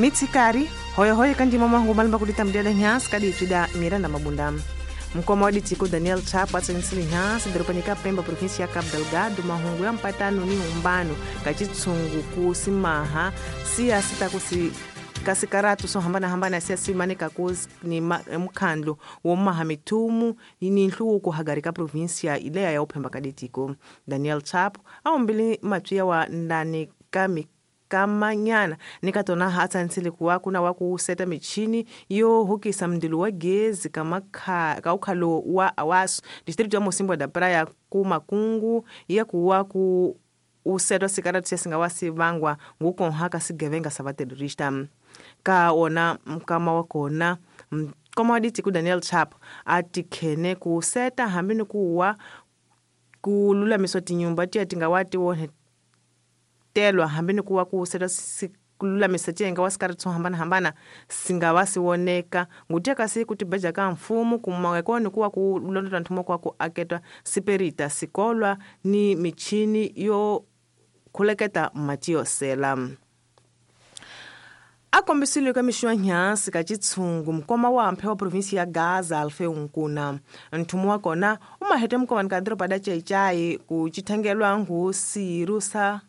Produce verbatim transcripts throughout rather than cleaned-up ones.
Mitsikari hoyohoyo kandima mahungu malimba kuditambudia nhansi kaditswida Miranda Mabunda. Mukoma wa ditiko Daniel Chapo atsanisile nhansi dorobani ka Pemba, província ya Cabo Delgado, mahungu ya mpatano ni umbano ka chitsungu ku simaha siya sita kusi kasikaratu so hambana-hambana siya simanika ku ni mukhandlu wo maha mithumu ni nhluvuko hagari ka província ileya ya uphemba ka ditiko. Daniel Chapo a umbile matswiya wa ndani ka kamanyana ni ka tona ha tsanisile ku wa kuna wa ku seta michini yo hukisa mndilo wa gezi ka makha ka ukhalo wa awaso distrito ya Mocimboa da Praia ku makungu ya ku wa ku usetwa sikaratu siya singa wa sivangwa ngukonha ka sigevenga sa vaterrorista ka ona mkama wa kona mkoma wa ditiko Daniel Chapo a tikhene ku seta hambi ni ku wa ku lulamiswa tinyumba tiya tinga wa ti wonhe telwa hambi ni ku wa ku seta ku lulamisa tiyenga wa sikaratu swo hambana-hambana singa wa siwoneka ngutiya kasi ku tibeja ka mfumo kumaweko ni ku wa ku londota nthumo kwa ku aketwa siperita sikolwa ni michini yo khuleketa mati yo sela. A kombisile ka mixo ya nhansi ka chitshungu mukoma wa mphe wa província ya Gaza Alfeu Nkuna. Nthumo wa kona u mahete mukomani ka doroba da Chaichai ku chithangelwa ngu sirusa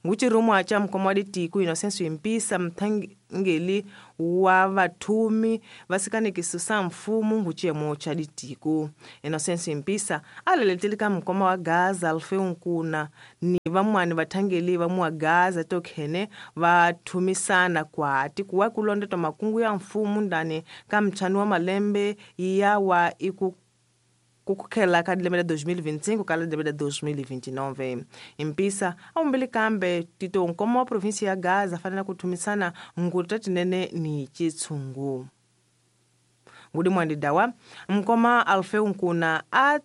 nguchirumwa cha mukoma wa ditiko Inocencio Impisa mthangeli wa vathumi vasikanekiso sa mfumo nguchiyemo cha ditiko. Inocencio Impisa a leletele ka mukoma wa Gaza Alfeu Nkuna ni vamwani vathangeli va mua Gaza tokhene va thumisana kwati kuwa ku londota makungu ya mfumo ndani ka mtshani wa malembe ya wa iku kukhela ka lembe la dois mil e vinte e cinco ka lembe la dois mil e vinte e nove. Impisa a umbili kambe tito nkoma wa província ya Gaza fanela ku thumisana nguta tinene ni chitshungu. Ngudi mwandi dawa mkoma Alfeu Nkuna a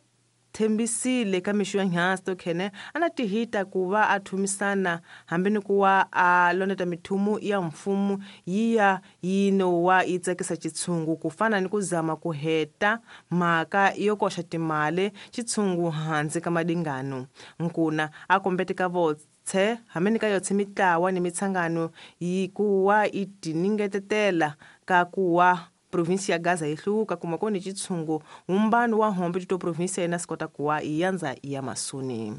thembisile ka mixo ya nhansi tokhene ana tihita ku va a thumisana hambi ni ku wa a londota mithumu ya mfumo yiya yino wa yi tsakisa chitshungu ku fana ni ku zama ku heta mhaka yo koxa timali chitshungu hansi ka madingano. Nkuna a kombete ka votse hambi ni ka yotse mitlawa ni mitsangano yi ku wa yi tiningetetela ka ku wa província ya Gaza yi hluvuka kuma koni chitshungu umbano wa hombe tito província yena sikota kuwa iyanza ya masuni.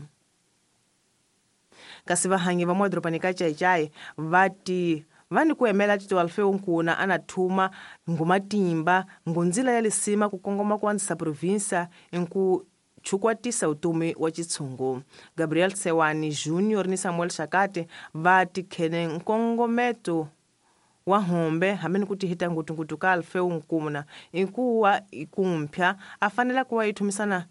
Kasi vahangi va mwadorobani ka Chaichai vati vani ku emela tito Alfeu Nkuna ana thuma ngumatimba ngunzila ya lisima ku kongoma ku andzisa província nku chukwatisa utumi wa chitshungu. Gabriel Sewani Junior ni Samuel Shakate vati khene nkongometo wa hombe hambi ni ku tihita ngutungutu ka Alfeu Nkuna ikuwa ikumpya a fanela kuwa ithumisana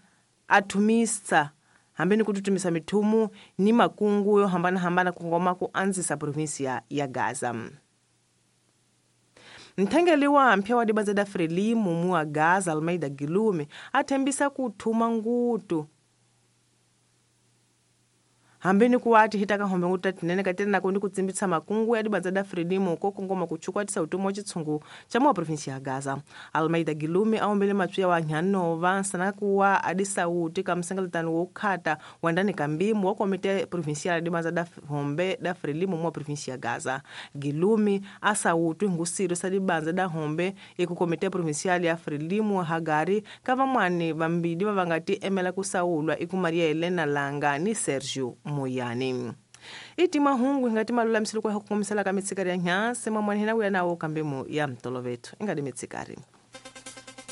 a thumisa hambi ni ku tutumisa mithumu ni makungu yo hambana-hambana ku ngoma ku andzisa província ya Gaza. Mthengeli wa mpya wa dibanza da Frelimo mu wa Gaza Almeida Gilume a thembisa ku thuma ngutu hambi ni ku wa tihita ka hombe nguta tinene ka tena ku ni ku tsimbisa makungu ya dibanza da Frelimo ko kongoma ku chukwatisa utomi wa chitshungu cha mwa província ya Gaza. Almeida Gilume a ombele matswiya wa nhanova nsana ku wa adisauti ka msengeletano wo khata wa ndani ka mbimu wa komite provincial ya dibanza da hombe da Frelimo mwa província ya Gaza. Gilume a sauti ngusiro sa dibanza da hombe eku komite provincial ya Frelimo hagari ka vamwani vambili va va nga ti emela ku sawulwa iku Maria Helena Langa ni Sergio Moyani. Iti mahungu ingati malulamisile kwa hukumisela ka mitsikari ya nhansi mamwani hina kuya nawo kambe mu ya mtolovethu ingati mitsikari.